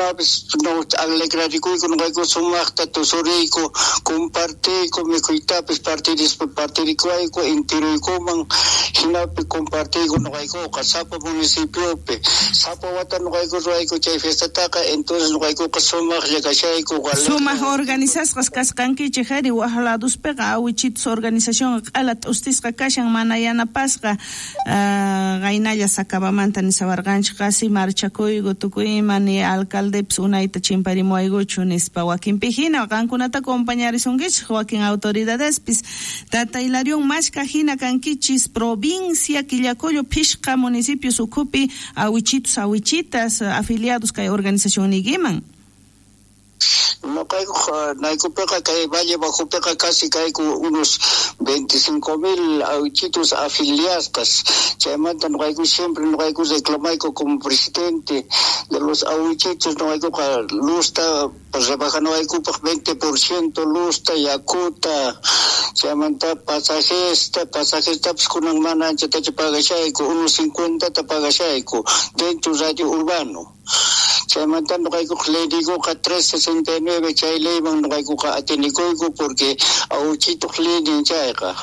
Kunapis alegrarikuyku noqayku sumaqta tusuriyku, compartiyku mikhuytapis partirispa partirikuwayku enteruykuman, jinapi compartiyku noqaykuqa sapa municipiopi, sapa wata noqayku ruwayku chay fiestataqa, entonces noqaykuqa sumaqlla kashayku. Sumaq organizasqas kasqankichej ari, waj ladospeqa awichitos organizacionqa q'ala t'ustisqa kashan mana yanapasqa. Qaynalla Sacabamanta nisawarqanchej qasi marchakuyku tukuy ima ni alcaldepis unayta chimparimuwaykuchu nispa, wakinpi jina qankunata acompañarisunkichej wakin autoridadespis. Tata Hilarión, mashka jina kankichis provincia Quillacollo phishqa municipios ukhupi awichitos awichitas afiliados kay organizacionniykiman? Noqayku naykupiqa kay Valle Bajopiqa casi kayku unos 25,000 awichitos afiliasqas. Chaymanta noqayku siempre noqayku reclamayku como presidente de los awichitos noqaykuqa luzta rebajanawaykupaq 20% luzta, yakuta, chaymanta pasajesta, pasajestapis kunan mana anchatachu pagashayku, unos 50ta pagashayku dentro radio urbano. Chaymanta noqaykuqa leyniykuqa 369 chay leyman noqaykuqa atinikuyku porque awichituq leynin chayqa.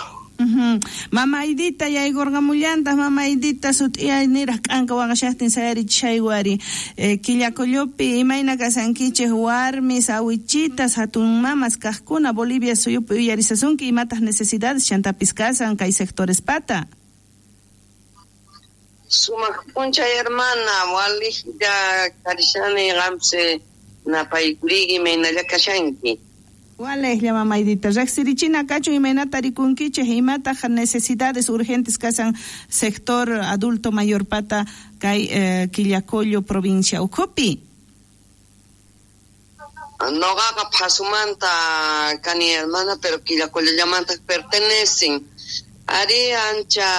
Mama Aidita yaykurqamullantaj, Mama Aidita sut'iyay niraj k'anka waqashajtin sayarichishayku ari. Quillacollopi imayna kashankichej warmis, awichitas, hatun mamas kajkuna Bolivia suyupi uyarisasunki imataj necesidades chantapis kasan kay sectorespata. Sumaq p'unchay hermana, walejlla karishani qamsi napaykuriyki imaynalla kashanki. Walejlla Mama Aidita, riqsirichina kachun imaynata rikunkichej imataq necesidades urgentes kasan sector adulto mayorpata kay Quillacollo provincia ukhupi. Noqaqa Phasumanta kani hermana, pero Quillacollollamantaj pertenecen. Ari ancha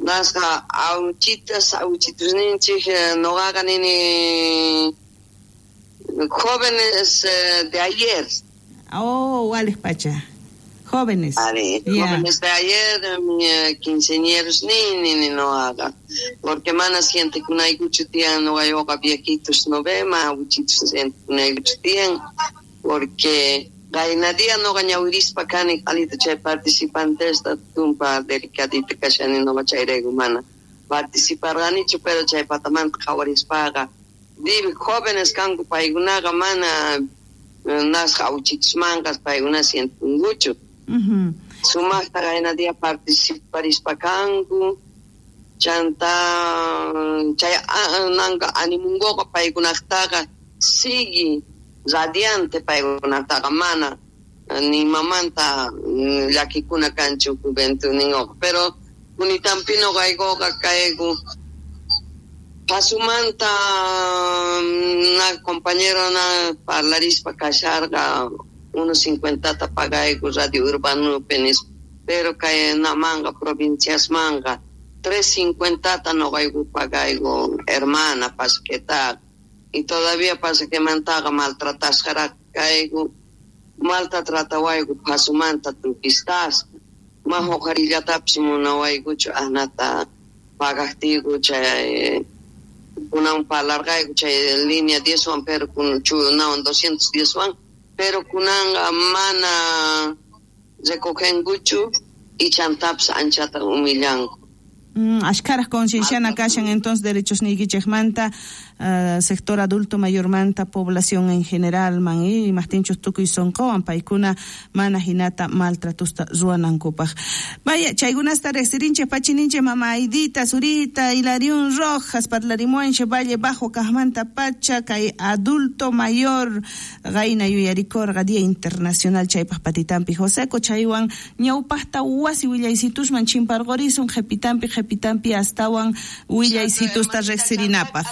nasqa awichitas, awichitos ninchej, noqaqa nini jóvenes de ayer. Oh, walej pacha. Jóvenes. Ari, jóvenes de ayer, quinceañeros nini noqaqa. Porque mana sientekunaykuchu tiyan noqayuqa viejitos no ve, ma awichitos sientekunaykuchu tiyan, porque qayna día noqa ñawirispa kani q'alita chay participantesta tumpa delicadita kashani noqa chayrayku mana participarqanichu, pero chay patamanta qhawarispaqa dibi jóvenes kanku paykunaqa mana nasqa awichitusmanqa paykuna sientekunkuchu. Sumaqta qayna día participarispa kanku, chanta chay nanka animunkuqa paykunaqtaqa sigui radiante paykunataqa mana ni mamanta llakikuna kanchu juventud ninkuqa, pero kunitampi noqaykuqa kayku Phasumanta na compañero na parlarispa kasharqa unos 50ta pagayku radio urbanopi nispa, pero kay namanqa provinciasmanqa 350ta noqayku pagayku hermana pasquetaqa. Y todavía pasa que mantaqa maltratasqaraq kayku, malta tratawayku Phasumanta tukistasqa, ma huqarillatapis munawaykuchu anata pagaqtiyku chay kunan parlarqayku chay línea 10 wan, pero chunawan 210 wan, pero kunanqa mana recogenkuchu y chantapis anchata humillanku. Ashkaraj concienciana kashan entonces derechos niykichejmanta, sector adulto mayormanta, población en general man, y imajtinchus tukuy sonqowan paykuna mana hinata maltratusta ruwanankupaj. Vaya, chaykunasta riqsirinchej pachininchej Mama Aidita, Zurita, Hilarión Rojas, parlarimuanchej Valle Bajo kajmanta pacha, kay adulto mayor qayna yuyarikorqa Día Internacional chaypaj patitampi Joseco, chaywan ñawpajta wasi willaysitusman chimparqorisun qhipitampi qhipitampi astawan willaysitusta riqsirinapaj.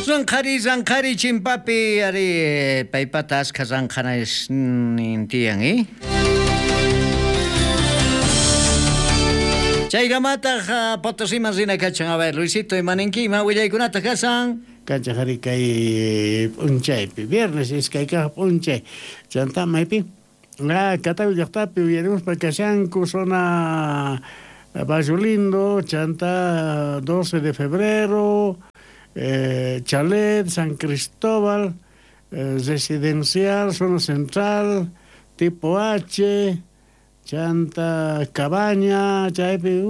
Ranqhari, ranqhari chimpapi, ari paypata askha ranqhanash nintiyan, Chaykamataq Potosiman rina kachan. A ver, Luisito, imaninki, ima willaykunata kasan? Kanchajari kay p'unchaypi, viernes iskay kaq p'unchay, chanta maypi? Catavi llaqtapi uyarimuspa kashanku zona Barrio Lindo, chanta 12 de febrero, Chalet, San Cristóbal, Residencial, Zona Central, Tipo H, Chanta, Cabaña, chaypi,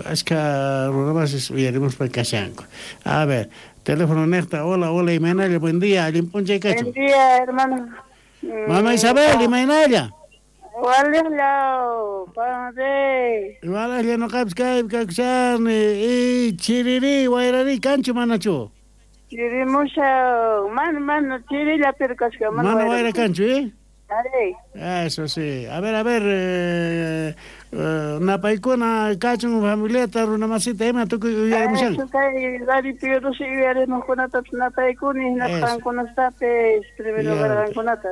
ashka runamasis uyarimuspa kashanku. A ver, teléfono nejta, hola, hola, imaynalla, buen día, allin p'unchay kachun. Buen día, hermano. Mamá Isabel, imaynalla. Walejla, padre. Walejla, noqapis kaypi kakushani, y chiriri, wayrari, kanchu manachu? Chirimusha, mana, chirilla pero kashka, mana wayra kanchu, ¿eh? Are. Eso sí. A ver, napaykuna kachun familiata runamasita ima tukuy uyarimushan. Eso kay Radio Pío XII uyarimuqkunatapis napaykuni, hinaspa qankunatapis, primero lugar qankunata.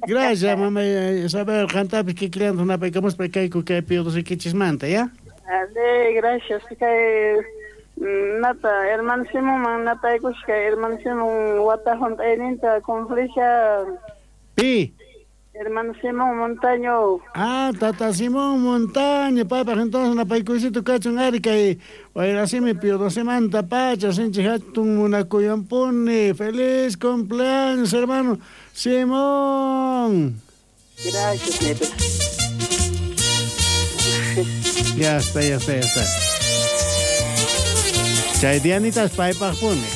Gracias, mamá Isabel, qantapis kikillanta napaykamuspa kayku kay Pío XII kichismanta, ¿ya? Ale, gracias. Kay nata, hermano Simón, napaykushka, hermano Simón, wata hunt'ayninta cumplisha. Pi? Hermano Simón Montaño. Ah, tata Simón Montaño, paypaj entonces napaykuysito kachun ari kay wayrasimi Pío XII pacha, sinchi hatun munakuywanpuni. Feliz cumpleaños, hermano Simón. Gracias, nieto. Ya está, ya está, ya está. Chay Dianitas paypajpuni.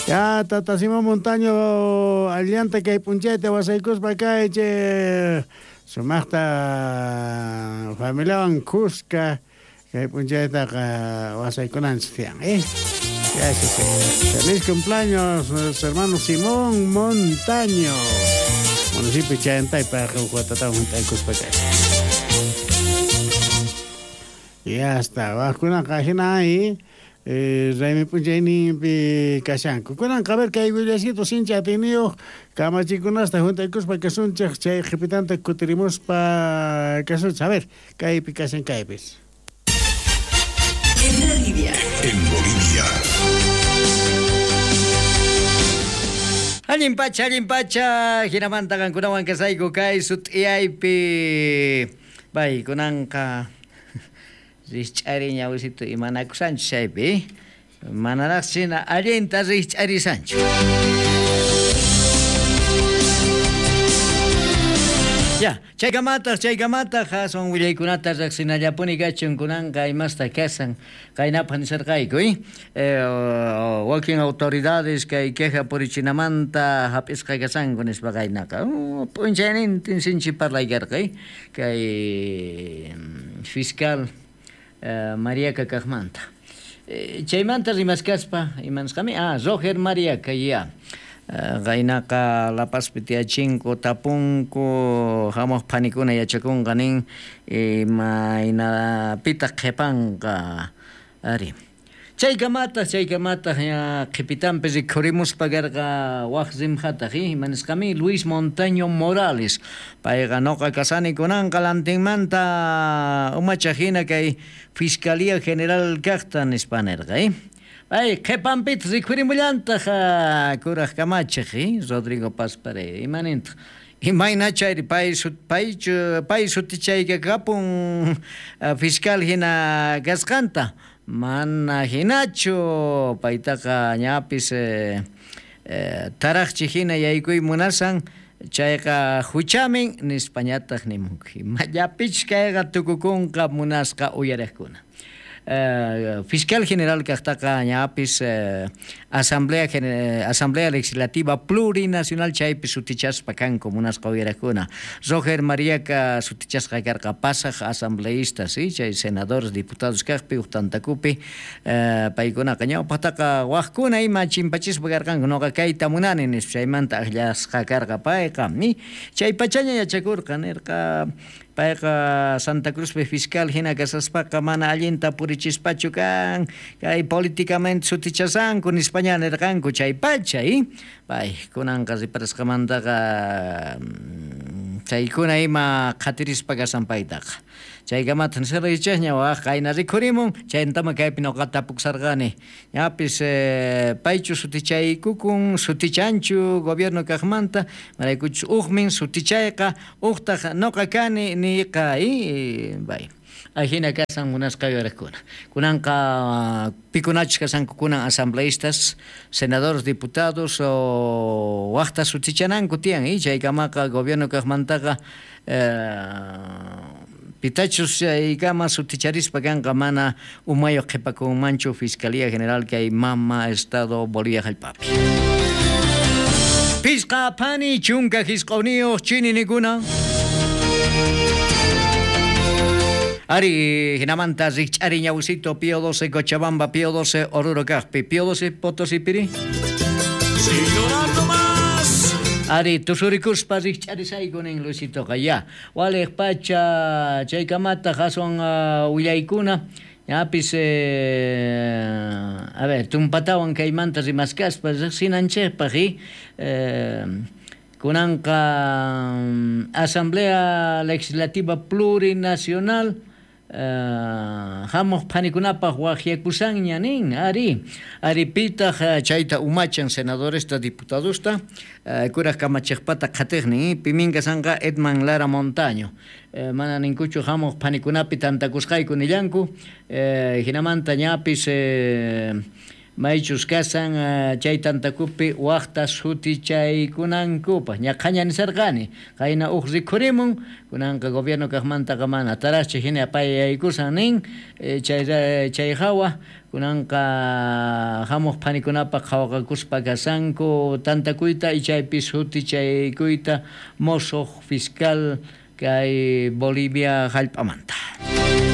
Ya, tata Simón Montaño, allanta kay p'unchayta wasaykuspa kay chay sumaqta familiawan kuska kay p'unchaytaqa wasaykunanchis tiyan, ¿eh? Gracias. Feliz cumpleaños, hermano Simón Montaño. Municipio Chayantaypaq huk watatan hunt'aykuspa kay. Ya está, wajkunaqa hina ahí. Raymi p'unchayninpi kashanku. Kunanqa a ver kay willasito sinchi atiyniyuq kamachikunasta hunt'aykuspa kasunchik chay qhipitanta kutirimuspa kasunchik. A ver, kaypi kashan kaypis. En Bolivia. En Bolivia. Allin pacha, hinamanta qankunawan kasayku kay sut'iyaypi. Bay, kunanqa rikch'ari ñawisito imanakusanchu chaypi, manaraq china allinta rikch'arisanchu. Ya, chaykamataq aswan willaykunata riqsinallapuni kachun kunanqa imasta kasan qaynapaq nisarqayku, wakin autoridades kay queja purichinamanta hap'isqa kasanku nispa qaynaqa. P'unchaynintin sinchi parlay karqa, kay fiscal Mariaca kaqmanta. Chaymanta rimaskaspa imanisqami, Roger Mariaca, ya. Qaynaqa La Pazpi tiyachinku tapunku hamuq phanikuna yachakunqa nin imaynapitaq qhipanqa ari. Chaykamataq ña qhipitanpi rikhurimuspa karqa waq rimqataq, imanisqami Luis Montaño Morales. Payqa noqa kasani kunanqa lantinmanta umachaq hina kay Fiscalía General kaqta nispa nirqa, Ay, qhipanpitaq rikhurimulantaq kuraq kamachiq, Rodrigo Paz Paredes. Imanintaq? Imayna chayri pay sutichayka kapun fiscal hina kasqanta. Mana hinachu paytaqa ñapis taraqchi hina yaykuy munasan chayqa huchamin nispañataq nimunki. Mayapich kayqa tukukunqa munasqa uyariqkuna. Fiscal General kaqtaqa ñapis Asamblea Legislativa Plurinacional chaypi sutichaspa kanku munasqa uyariqkuna. Roger Mariaca sutichasqa karqa pasaq asambleístas, ¿sí? Chay senadores, diputados kaqpi huk tantakupi paykunaqa ñawpaqtaqa waqkuna ima chimpachispa karqanku noqa kayta munani nispa chaymanta akllasqa karqa payqa. Chay pachaña yachakurqa nirqa payqa Santa Cruzpi fiscal hina kasaspaqa mana allinta purichispachu kan kay políticamente sutichasanku nispaña nirqanku chay pacha, pay kunanqa riparasqamantaqa chaykuna ima qhatirispa kasan paytaqa. Chaykamata nisaraychikña waq qayna rikhurimun chayntama kaypi noqa tapukusarqani. Ñapis paychu sutichaykukun sutichanchu gobierno kaqmanta maraykuchus uqmin sutichayqa uqtaq noqa kani niqa bay. Ajina kasan munasqa yuyarikuna. Kunanqa pikunachus kasanku kunan asambleístas, senadores, diputados o waqta sutichananku tiyan chaykamaqa gobierno kaqmantaqa pitachus chaykama suticharispa kanqa mana umayuq qhipakunmanchu Fiscalía General kay mama Estado Bolivia hallp'api. Pisqa phani chunka hisq'uniyuq chininikuna. Ari, hinamanta rikch'ari ñawsito Pío 12 Cochabamba, Pío 12 Oruro kaqpi, Pío 12 Potosí piri. Sin llorar nomás. Ari, tusurikuspa rikch'arisayku nin Luisitoqa ya. Waliq pacha chaykamata aswan willaykuna. Ñapis a ver, tumpatawan kaymanta rimaskaspa riqsinanchikpaq kunanqa Asamblea Legislativa Plurinacional hamuq phanikunapaq waqyakusanña nin ari aripitaq chayta umachan senadoresta diputadosta kuraq kamachiqpata qhatiqnin piminka sanqa Edman Lara Montaño mana ninkuchu hamuq phanikunapi tantakusqayku nillanku hinamanta ñapis maychus kasan chay tantakupi waqta sutichaykunankupaq ñaqhaña nisarqani qayna uj rikhurimun kunanqa gobierno kaqmantaqa mana taraschi hina payaykusan nin chay hawa kunanqa hamuq phanikunapaq qhawaqakuspa kasanku tantakuyta y chaypi sutichaykuyta mosuq fiscal kay Bolivia hallp'amanta.